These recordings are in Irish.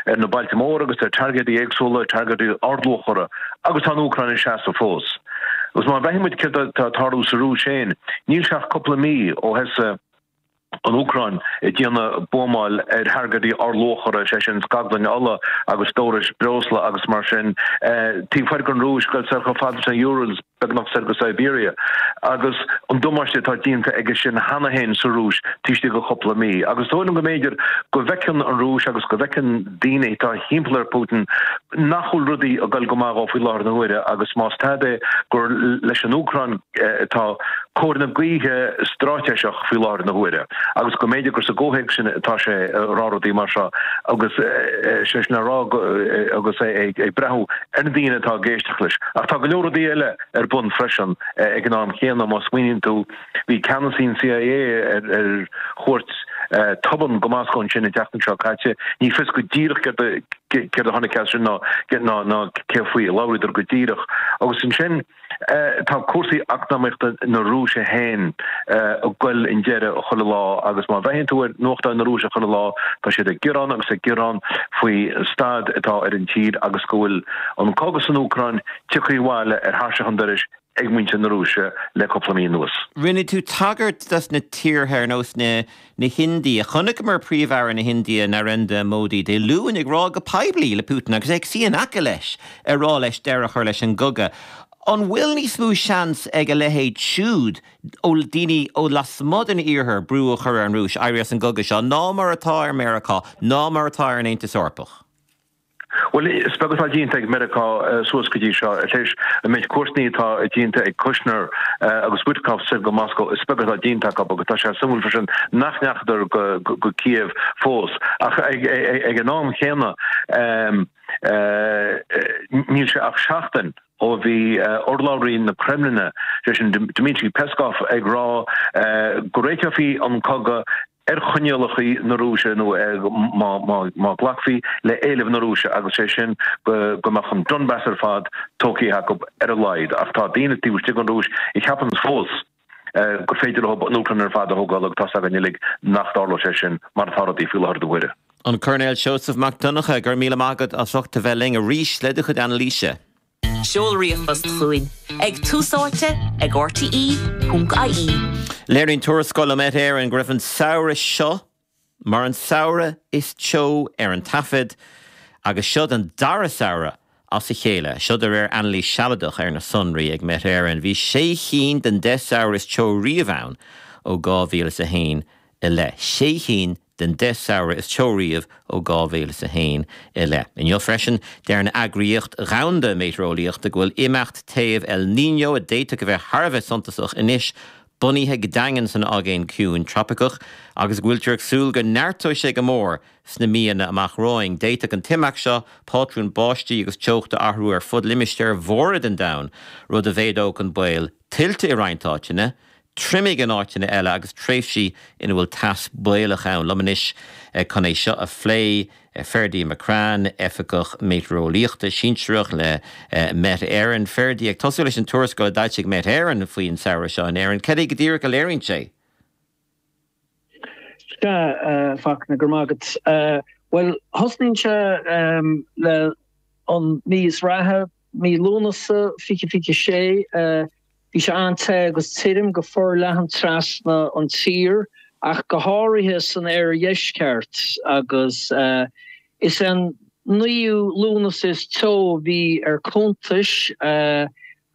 ar na bailte móra agus ar targaidí éagsúla, targaidí ardluachmhara, agus tá an Úcráin ag seasamh fós. Agus má bhreathnaíonn muid céard atá ag tarlú sa Rúis féin, níl sé ach cúpla mí ó thosaigh an Úcráin ag déanamh buamáil ar thargaidí ardluachmhara, sé sin scaglainn ola agus stórais breosla agus mar sin, taobh thoir den Rúis, goil soir chomh fada leis na Urals, beagnach soir go Siberia, agus an damáiste atá déanta aige sin cheana féin sa Rúis taobh istigh de chúpla mí. Agus is dóigh liom go mb'fhéidir go bhfeiceann an Rúis agus go bhfeiceann daoine atá thimpeall ar Putin nach bhfuil rudaí ag dul go maith dhó faoi láthair na huaire agus más tada é gur leis an Úcráin atá cóir na gaoithe straitéiseach faoi láthair na huaire agus go mb'fhéidir gur sa gcomhthéacs sin atá sé ag rá rudaí mar seo agus sé sin a rá agus é ag breathnú ar na daoine atá ag éisteacht leis. Ach tá go leor rudaí eile ar bun freisin ag an am chéanna. Má smaoiníonn tú, bhí ceannasaí an CIA ar chuairt tobann go Moscó ansin an tseachtain seo caite. Ní fios go díreach céard a tháinig as sin ná cé faoi a labhraíodar go díreach. Agus ansin. Tá cúrsaí eacnamaíochta na Rúise féin ag goil i ndeireadh chuile lá agus má bhreathnaíonn tú ar nuachtáin na Rúise chuile lá tá siad ag gearán agus ag gearán faoi staid atá ar an tír agus go bhfuil an cogadh san Úcráin tioctha abhaile ar thairseach an dorais ag muintir na Rúise le cúpla mí anuas. Rinne tú tagairt dos na tíortha ar nós na na hIndia. Chonaiceamar Príomh-Aire na hIndia, Narendra Modi, Dé Luain ag rá go poiblí le Putin, agus é ag suí in aice leis, ag rá leis deireadh a chur leis an gcogadh. An bhfuil níos mó seans ag a leithéid siúd, ó daoine ó lasmuigh den Iarthar, brú a chur ar an Rúis éirí as an gcogadh seo ná mar atá ar Meiriceá, ná mar atá ar an Aontas Eorpach? Bhuel, is beag atá déanta ag Meiriceá suas go dtí seo. Tar éis an méid cuairteanna atá déanta ag Kushner agus Witkoff soir go Moscó, is beag atá déanta acu agus tá sé suimiúil freisin nach ndeachadar go Kiev fós. Ach ag an am chéanna, níl sé ach seachtain ó bhí urlabhraí na Creimlinne, sé sin Dmitry Peskov, ag rá go réiteofaí an cogadh ar choinníollacha na Rúise nó má ghlacfaí le éilimh na Rúise agus sé sin go mbeadh an Donbas ar fad tógtha acu ar a laghad. Ach tá daoine taobh istigh den Rúis a cheapann fós gur féidir leo an Úcráin ar fad a thógáil agus tá's againn uilig nach dtarlóidh sé sin mar atá rudaí faoi láthair na huaire. An Coirnéal Seosamh Mac Donncha, go raibh míle maith agat as ucht a bheith linn arís le do chuid anailíse. Seol ríomhphost chugainn ag túsáite ag rte.ie. Léiríonn tuarascáil ó Met Éireann go raibh an samhradh seo mar an samhradh is teo ar an taifead agus seo don dara samhradh as a chéile. Seo de réir anailís sealadach ar na sonraí ag Met Éireann. Bhí sé chinn den 10 samhradh is teo riamh ann ó 2001 i leith. Sé chinn den 10 samhradh is teo riamh ó 2001 i leith. Inniu freisin, deir an Eagraíocht Dhomhanda Meitéareolaíochta go bhfuil imeacht téimh El Niño, a d'fhéadfadh a bheith thar a bheith suntasach anois, bunaithe go daingean san Aigéan Ciúin tropaiceach agus go bhfuiltear ag súil go neartóidh sé go mór sna míonna amach romhainn. D'fhéadfadh an t-imeacht seo pátrúin báistí agus teochta a athrú ar fud limistéir mhóra den domhan, rud a mhéadódh an baol tuilte i roinnt áiteanna, triomaigh in áiteanna eile agus tréimhsí ina bhfuil teas baolach ann. Liom anois chun é seo a phlé, Ferdie McCrann, Oifigeach Meitéareolaíochta Sinsearach le Met Éireann. Ferdie, ag tosú leis an tuarascáil a d'fhoilsigh Met Éireann faoin samhradh seo in Éirinn, cad é go díreach a léiríonn sé? Sea, a Fachtna, go raibh maith agat. Bhuel, thosnaíonn sé le an mí is reatha, mí Lúnasa 2026. Bhí sé an-te agus tirim go forleathan trasna an tír ach go háirithe san oirdheisceart agus is é an naoú Lúnasa is teo a bhí ar cuntas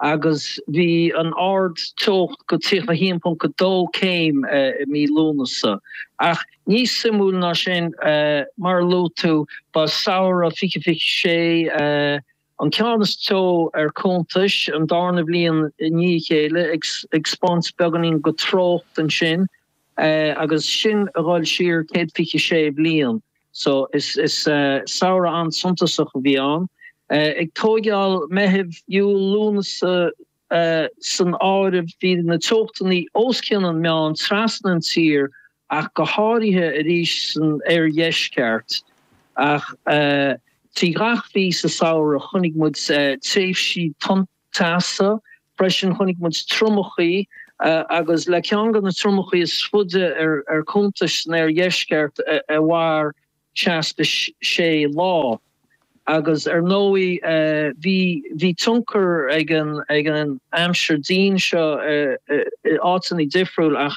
agus bhí an ard-teocht go 31.2 céim i mí Lúnasa. Ach níos suimiúil ná sin, mar a luaigh tú, ba samhradh 2026 An ceann is teo ar cuntas, an darna bhliain i ndiaidh a chéile, ag 'spáint beagáinín go treocht ansin agus sin a dhul siar 126 bliain. So is samhradh an-suntasach a bhí ann. Ag tóigeáil Meitheamh, Iúil, Lúnasa san áireamh bhí na teochtanna os cionn an meán trasna an tír ach go háirithe arís san oirdheisceart. Ach trí ghach mhí sa samhradh chonaic muid tréimhsí tonnteasa freisin, chonaic muid triomachaí agus le ceann de na triomachaí is faide ar cuntas san oirdheisceart a mhair. 66 lá. Agus ar ndóigh bhí bhí tionchar ag an ag an aimsir dian seo i áiteanna difriúil ach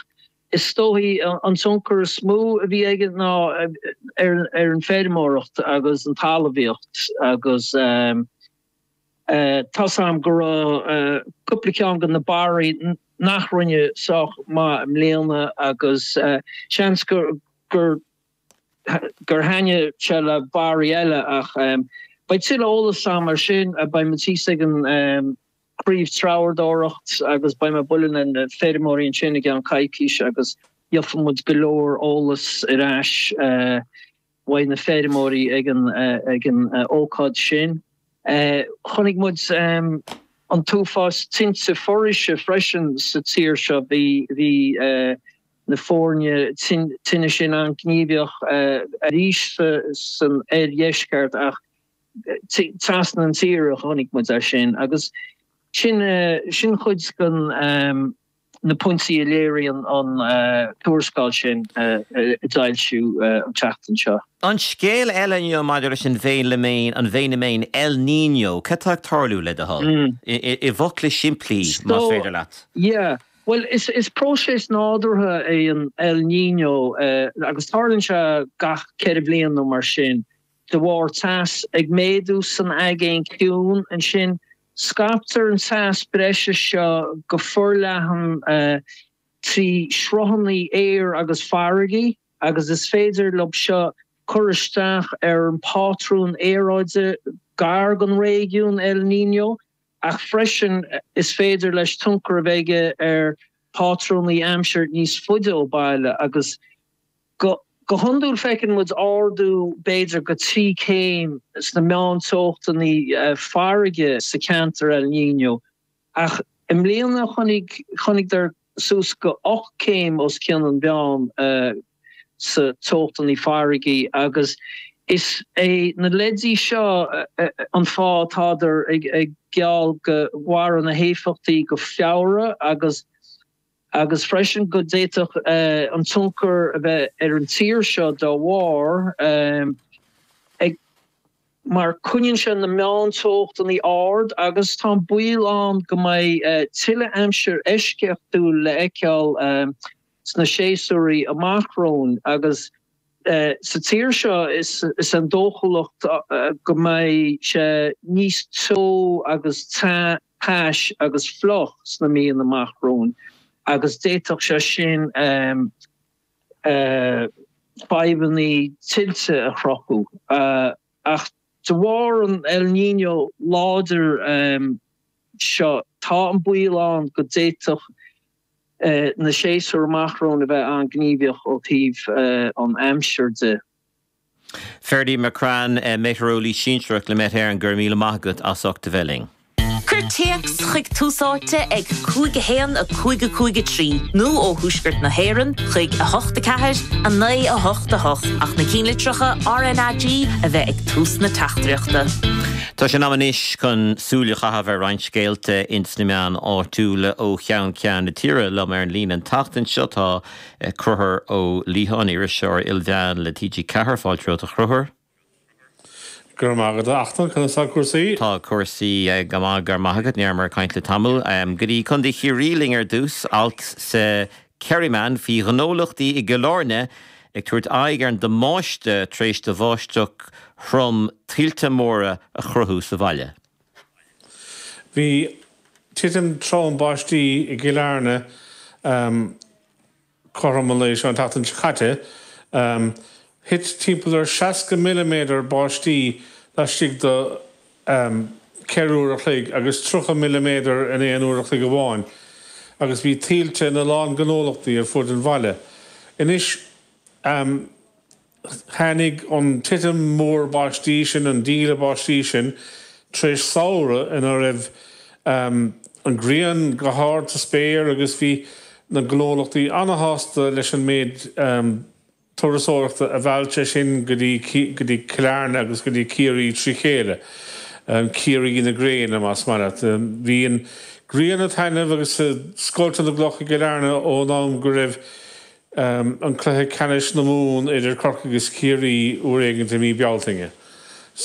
is dóichí an tionchar is mó a bhí aige ná ar ar an feirmeoireacht agus an talmhaíocht agus tá's a'm go raibh cúpla ceann de na barraí nach rinne sách maith i mbliana agus seans gur gur gur thaitnigh sé le barraí eile ach beidh tuilleadh eolas a'm ar sin. Beidh muid thíos ag an Craobh Treabhdóireacht agus beidh mé ag bualadh le na feirmeoirí ansin i gceann coicís agus gheobhaidh muid go leor eolas ar ais uaidh na feirmeoirí ag an ag an ócáid sin. Chonaic muid an t-uafás tinte foraoise freisin sa tír seo. Bhí bhí na foirne tine sin an-ghníomhach arís san oirdheisceart ach trasna an tír a chonaic muid é sin agus sin sin chuid den na pointí a léiríonn an tuarascáil sin a d'fhoilsíodh an tseachtain seo. An scéal eile inniu maidir leis an bhfeiniméan, an bhfeiniméan El Niño, cad tá ag tarlú, le do thoil? I bhfocla simplí, más féidir leat. Yeah. Bhuel, is próiseas nádúrtha é an El Niño agus tarlaíonn sé gach 4 bhliain nó mar sin. De bharr teas ag méadú san Aigéan Ciúin ansin, scaiptear an teas breise seo go forleathan trí shruthanna aeir agus farraige agus is féidir leo seo cur isteach ar an bpátrún aeráide gar don réigiún El Niño. Ach freisin is féidir leis tionchar a bheith aige ar phátrúnaí aimsir níos faide ó baile agus go go hiondúil feiceann muid ardú b'fhéidir go 3 céim sna meánteochtanna farraige sa cheantar El Niño ach i mbliana chonaic chonaiceadar suas go 8 céim os cionn an mheán sa teochtanna farraige agus is é na leidí seo an fáth atádar ag geall go mhairfidh na héifeachtaí go Feabhra agus agus freisin go d'fhéadfadh an tionchar a bheith ar an tír seo dá bharr. Ag. mar coinníonn sé na meánteochtanna ard agus tá an baol ann go mbeidh tuilleadh aimsir eisceachtúil le fheiceáil sna séasúirí amach romhainn agus sa tír seo is é an dóchúlacht go mbeidh sé níos teo agus tais agus fliuch sna míonna amach romhainn agus d'fhéadfadh sé sin fadhbanna tuilte a chruthú. Ach de bharr an El Niño láidir seo, tá an baol ann go d'fhéadfadh na séasúir amach romhainn a bheith an-ghníomhach ó thaobh an aimsir de. Ferdie McCrann, Meitéareolaí Sinsearach le Met Éireann, go raibh míle maith agat as ucht a bheith linn. Cuir téacs chuig Tús Áite ag 5 1 5 5 3 nó ó thuaisceart na hÉireann chuig 8 4 9 8 8 ach na cinnlitreacha RnaG a bheith ag tús na teachtaireachta. Tá sé in am anois chun súil a chaitheamh ar roinnt scéalta ins na meáin áitiúla ó cheann ceann na tíre. Liom ar an líne an tseachtain seo tá Conchúr Ó Liatháin, iriseoir ilmheán le TG4. Fáilte romhat a Chonchúir. Go raibh maith agat, a Fhachtna. Conas tá cúrsaí? Tá cúrsaí go maith, go raibh maith agat. Ní rabhamar ag caint le tamall. Go dtí Contae Chiarraí linn ar dtús. Alt sa Kerryman faoi ghnólachtaí i gCill Airne ag tabhairt aghaidh ar an damáiste tar éis do bháisteach throm tuilte móra a chruthú sa bhaile. Bhí titim trom báistí i gCill Airne cothrom an lae seo an tseachtain seo caite. Thit timpeall ar 60 milliméadar báistí laistigh de 4 uair a chloig agus 30 milliméadar in aon uair a chloig amháin agus bhí tuilte ina lán gnólachtaí ar fud an bhaile. Anois. Tháinig an titim mhór báistí sin, an díle báistí sin, tar éis samhradh ina raibh an ghrian go hard sa spéir agus bhí na gnólachtaí ana-shásta leis an méid turasóireachta a mheall sé sin go dtí go dtí Cill Airne agus go dtí Ciarraí trí chéile. Ciarraí na gréine, más maith leat. Bhí an ghrian ag taitneamh agus ag scoilteadh na gcloch i gCill Airne ón am go raibh. an cluiche ceannais na Mumhan idir Corcaigh agus Ciarraí uair éigint i mí Bealtaine.